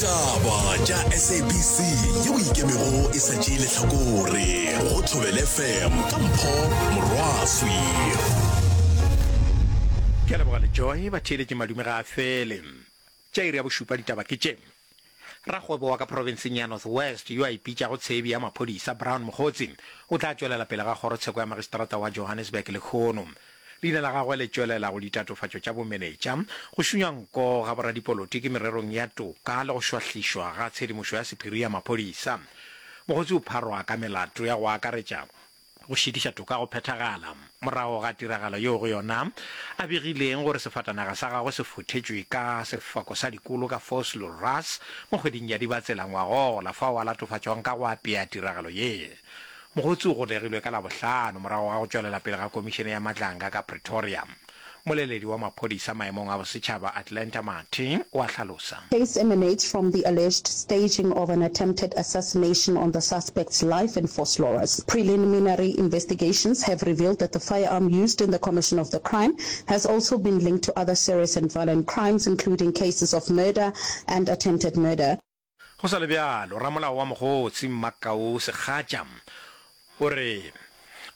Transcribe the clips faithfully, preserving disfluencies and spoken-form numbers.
Ditaba tša S A B C yeo ikemego e sa tšee lehlakore go Thobela F M ka Mpho Morwaswi. Ke a leboga le Joy. Batheeletši, madume ga a fele. Tša iri ya bošupa ditaba ke tše. Rakgwebo wa ka profenseng ya North West yo a ipitšago tshebi ya maphodisa Brown Mogotsi o tla tšwelela pele ga kgorotsheko ya magistrata wa Johannesburg lehono. Leina la gagwe le tšwelela go ditatofatšo tša bomenetša, go šunya nko ga boradipolotiki mererong ya toka le go šwahlišwa ga tshedimošo ya sephiri ya maphodisa. Mogotsi o pharwa ka melato ya go akaretša go šitiša toka go phethagala morago ga tiragalo yeo go yona a begileng gore sefatanaga sa gagwe se fothetšwe ka sefako sa dikolo ka Vosloorus mo kgweding ya Dibatsela ngwagola, fao a latofatšwang ka go apea tiragalo ye. Mogotsi o golegilwe ka Labohlano morago ga go tšwelela pele ga Komišene ya Madlanga ka Pretoria. Moleledi wa maphodisa maemong a bosetšhaba Atlanta Mathe o a hlalosa. Case emanates from the alleged staging of an attempted assassination on the suspect's life in Vosloorus. Preliminary investigations have revealed that the firearm used in the commission of the crime has also been linked to other serious and violent crimes, including cases of murder and attempted murder. Go sa le bjalo, ramolao wa Mogotsi Mmakau Segatša o re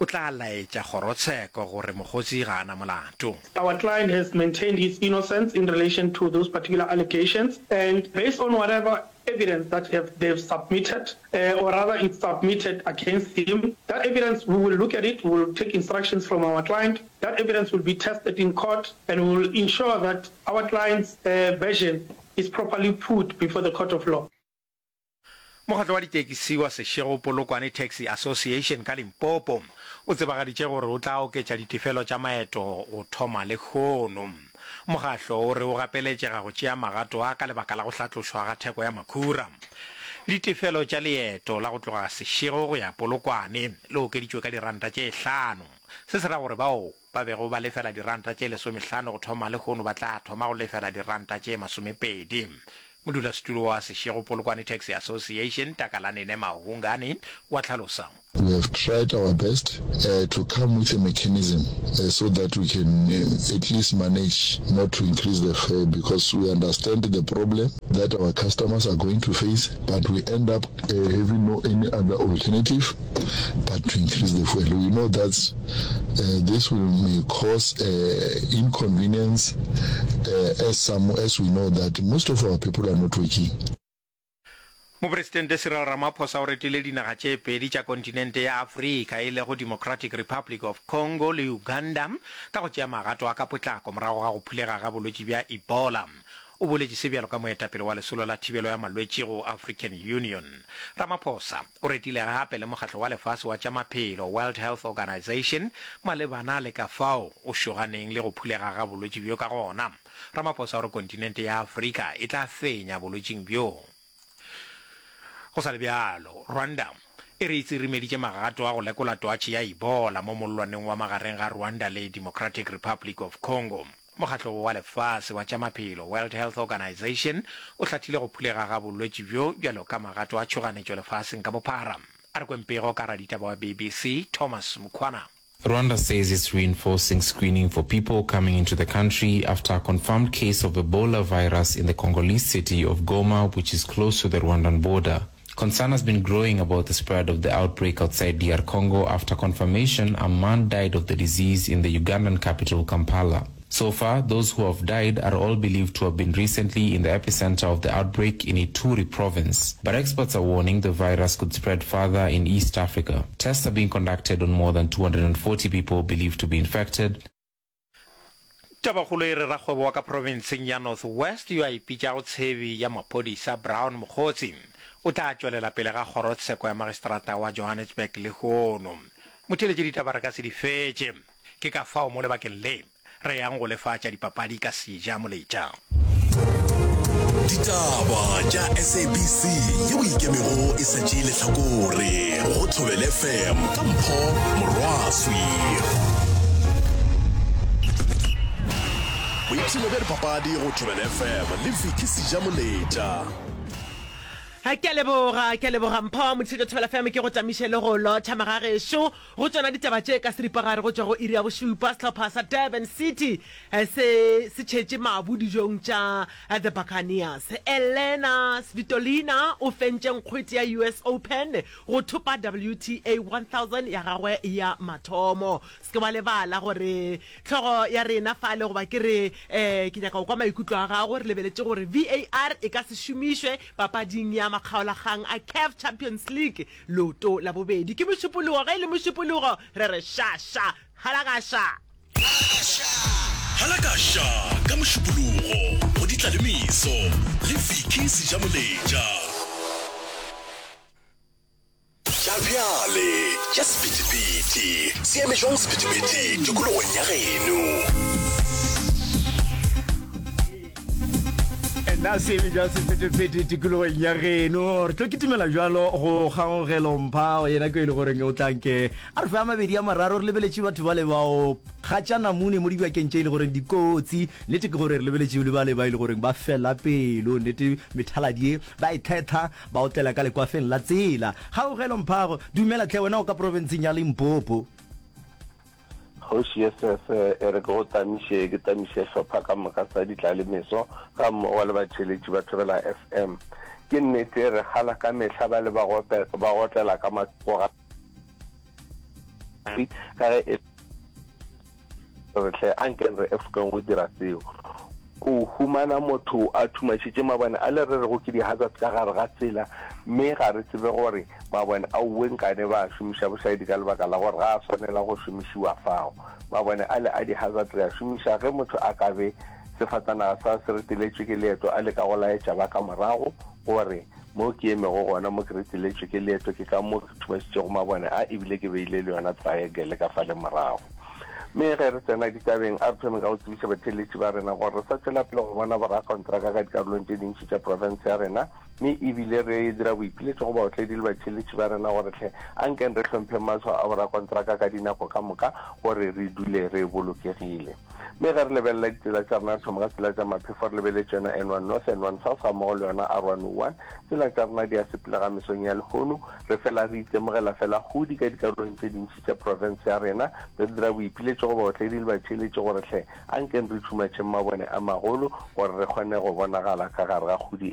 o tla laetša kgorotsheko gore Mogotsi ga a na molato. Our client has maintained his innocence in relation to those particular allegations, and based on whatever evidence that have they've submitted, uh, or rather it's submitted against him, that evidence, we will look at it, we will take instructions from our client, that evidence will be tested in court, and we will ensure that our client's uh, version is properly put before the court of law. Mokgatlo wa ditekisi wa Seshego Polokwane Taxi Association ka Limpopo o tsebagaditše gore o tla oketša ditefelo tša maeto go thoma lehono. Mokgatlo o re o gapeletšega go tšea magato a ka lebaka la go hlatlošwa ga theko ya makhura. Ditefelo tša leeto la go tloga Seshego go ya Polokwane le okeditšwe ka diranta tše hlano. Se se ra gore bao ba bego ba lefela diranta tše lesomehlano go thoma lehono ba tla thoma go lefela diranta tše masomepedi. Modulasetulo wa Seshego Polokwane Taxi Association Takalanene Mahungane wa hlalosa. We have tried our best uh, to come with a mechanism uh, so that we can uh, at least manage not to increase the fare, because we understand the problem that our customers are going to face, but we end up uh, having no any other alternative but to increase the fuel. We know that uh, this will may cause uh, inconvenience uh, as some as we know that most of our people are not working. Mopresidente Cyril Ramaphosa o retile dinaga tše pedi tša kontinente ya Afrika, e lego Democratic Republic of Congo le Uganda, ka go tšea magato a ka potlako morago ga go phulega ga bolwetši bja Ebola. O boletše se bjalo ka moetapele wa lesolo la thibelo ya malwetši go African Union. Ramaphosa o retile gape le mokgatlo wa lefase wa tša maphelo, World Health Organization, malebana le ka fao o šoganeng le go phulega ga bolwetši bjo ka gona. Ramaphosa o re kontinente ya Afrika e tla fenya bolwetšing bjo. Go sa le bjalo, Rwanda e re e tsirimeditše magato a go lekola twatši ya Ebola mo mollwaneng wa magareng ga Rwanda le Democratic Republic of Congo. Mokgatlo wa lefase wa tša maphelo, World Health Organization, o hlathile go phulega ga bolwetši bjo bjalo ka magato a tšhoganetšo lefaseng ka bophara. A re kweng pego ka raditaba wa B B C Thomas Mkhwana. Rwanda says it's reinforcing screening for people coming into the country after a confirmed case of Ebola virus in the Congolese city of Goma, which is close to the Rwandan border. Concern has been growing about the spread of the outbreak outside D R Congo after confirmation a man died of the disease in the Ugandan capital, Kampala. So far, those who have died are all believed to have been recently in the epicenter of the outbreak in Ituri province. But experts are warning the virus could spread further in East Africa. Tests are being conducted on more than two hundred forty people believed to be infected. Tabakgolo e re rakgwebo wa ka profenseng ya North West yo a ipitšago tshebi ya maphodisa Brown Mogotsi o tla tšwelela pele ga kgorotsheko ya magistrata wa Johannesburg lehono. Motheeletši, ditaba re ka se di fetše, ke ka fao mo lebakeng le re yang go lefatša dipapadi ka Seja Moletša. Ditaba tša S A B C yeo ikemego e sa tšee lehlakore go Thobela F M ka Mpho Morwaswi. Boipshino bja dipapadi go Thobela F M le Vicky Seja Moletša. Ke a leboga, ke a leboga Mpho. Modišetšo Thobela FM ke go tamiše le go lotšha magagešo go tšona ditaba tše ka seripagare go tšwa go iri ya bošupa. Sehlopha sa Durban City se se tšhetše mabu dijong tša The Buccaneers. Elena Svitolina o fentše nkgwete ya U S Open go thopa W T A one thousand ya gagwe ya mathomo. Se ke wa lebala gore hlogo ya rena fale goba ke re eh, ke nyaka go kwa maikutlo a gago. Re lebeletše gore V A R e ka se šomišwe papading ya makgaolakgang a CAF Champions League leoto la bobedi. Ke Mošupologo, ge e le Mošupologo re re ša ša halakaša. Halakaša ka Mošupologo go Ditlalemeso le Vicky Sejamoletša. Tša bjale tša sephethephethe se eme jwang sephethephethe tikologong ya geno? Nna se eme jwang sephethephethe tikologong ya geno? Re tlo kitimela jwalo go Kgaogelo Mpha, yena ke e le goreng o tla nke a re fe a mabedi a mararo. Re lebeletše batho bale bao kgatša namune mo dibakeng tše e le goreng dikotsi. Nnete ke gore re lebeletše le bale ba e le goreng ba fela pelo, nnete methaladi ye ba e thetha ba otlela ka lekwafeng la tsela. Kgaogelo Mphago, dumela hle, wena o ka profenseng ya Limpopo. Kgoši ye sese e re ke go tamiše, ke tamiše hlopha ka moka sa ditlalemeso ga mmogo le batheeletši ba Thobela F M. Ke nnete re kgala ka mehla ba le ba gope, ba gotlela ka mathoko ga ka ge e re hle ankeng re efogeng go dira seo. O humana motho a thumašitše mabone a le re rego ke di-hazard ka gare ga tsela, mme ga re tsebe gore mabone a uwe nkane ba a šomiša bošaedi ka lebaka la gore ga a swanela go šomišiwa fao. Mabone ale a di-hazard re a šomiša ge motho a ka be sefatanaga sa se reteletšwe ke leeto a leka go laetša ba ka morago gore mo ke emego gona mo ke reteletšwe ke leeto ke ka mo ke thumašitšego mabone a ebile ke beile le yona triangle ka fale morago. Mme ge re tsena ditabeng, a re thome ka go tsebiša batheeletši ba rena gore re sa tšwela pele go bona borakontraka ka dikarolong tše dintši tša profense ya rena, mme e bile re dira boipiletšo go baotledi le batheeletši ba rena gore hle ankeng re hlompheng matshwao a borakontraka ka dinako ka moka gore re dule re bolokegile. Mme ge re lebelela ditsela tša rena, re thoma ka tsela tša maphefo re lebeletše yona N one North, N one South gammogo le yona R one oh one. Tsela tša rena di a sepelega mesong ya lehono, re fela re itemogela fela kgodi ka dikarolong tše dintši tša profense ya rena. Re dira boipiletšo go baotledi le batheeletši gore hle ankeng re tšhumatšheng mabone a magolo gore re kgone go bonagala ka gare ga kgodi e.